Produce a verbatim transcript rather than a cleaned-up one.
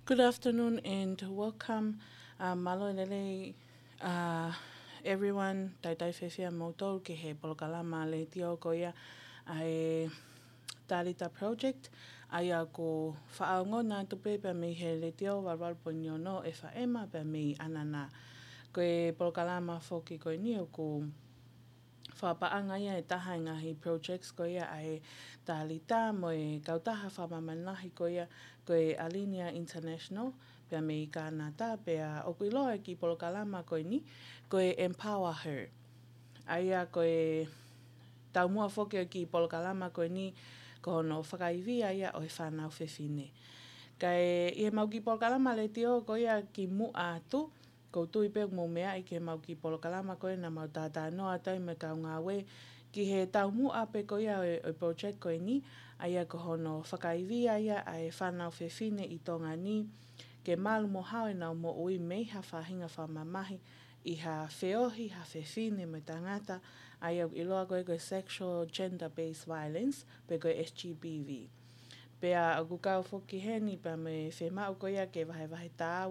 Good afternoon and welcome. Uh, mālō e lelei, uh, everyone, talitali fiefia kimoutolu ki he polokalama letiō ko ia ʻa e Talita Project, ʻa ia ʻoku fakaongo atu pē pea mei he letiō valu valu poini ono F M pea mei ʻAnana. Ko e polokalama foki ko eni ʻoku fakapaʻanga ia ʻe taha e ngaahi projects ko ia ʻa e Talita mo e kautaha fakamāmani lahi ko ia ko e Alinea International, pea mei Kānata, pea ʻoku ʻiloa e kiʻi polokalama ko eni ko e Empower Her. ʻA ia ko e taumuʻa foki ʻo e kiʻi polokalama ko eni ko hono fakaivia ia ʻo e fānau fefine. Kae ʻi heʻemau kiʻi polokalama letiō ko ia kimuʻa atu, ʻoku ou tui pē ʻoku mou meaʻi ki heʻemau kiʻi polokalama ko ē naʻa mau talanoa atu ai mo e kau ngāue ki he taumuʻa pē ko ia ʻo e, ʻo e project ko eni, ʻa ia ko hono fakaivia ia ʻa e fānau fefine ʻi Tonga ni ke malu mo hao ʻenau moʻui mei ha faʻahinga fakamamahi ʻi ha feohi ha fefine mo e tangata, ʻa ia ʻoku ʻiloa ko ē ko e sexual gender-based violence, pe ko e S G B V. Pea ʻoku kau foki heni pea mo e fiemaʻu ko ia ke vahevahe tāua